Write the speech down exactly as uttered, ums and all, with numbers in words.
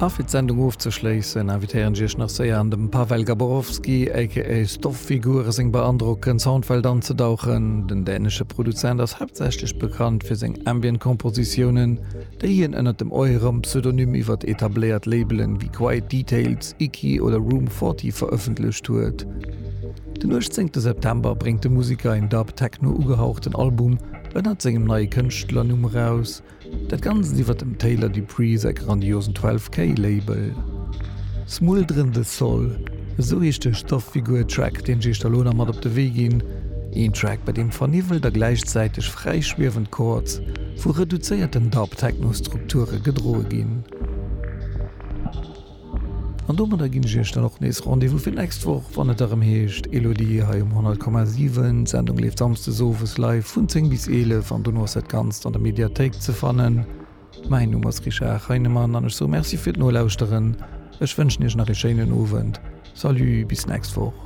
A fir d'Sendung ofzeschléissen, invitéieren ech iech nach séier an dem Pavel Gaborowski aka Stofffigur seng beandrockend Soundwelt anzedauchen. Den dänesche Produzent ass haaptsächlech bekannt fir seng Ambient-Kompositiounen, déi hien ënnert dem Euram Pseudonym iwwer etabléiert Labelen wéi Quiet Details, Icky oder Room forty verëffentlecht huet. Den uechtzéngte September bréngt de Museker een Dub-Techno ugehauchten Album ënnert sengem neie Kënschtlernumm eraus, dat Ganzt iwwer dem Taylor Dupree säi grandiosen twelve K Label. Smuldrende Sol, esou heescht de Stofffigur-Track, deen ech iech da lo nach mat op de Wee ginn. Een Track, bei deem verniwwelt a gläichzäiteg fräi schwiewend Chords vu reduzéierten Dub-Techno-Strukture gedroe ginn. An domadder ginn ech iech dann och nees Rendez-vous fir d'nächst Woch, wann et erëm heescht Elodie hei um honnert Komma siwen. D'Sendung leeft samsdes owes live vun zéng bis eelef an dono ass dat Ganzt an der Mediathéik ze fannen. Mäin Numm ass Richard Heinemann an ech soe Merci fir d'Nolauschteren. Ech wënschen iech nach ee schéinen Owend. Salut, bis d'nächst Woch.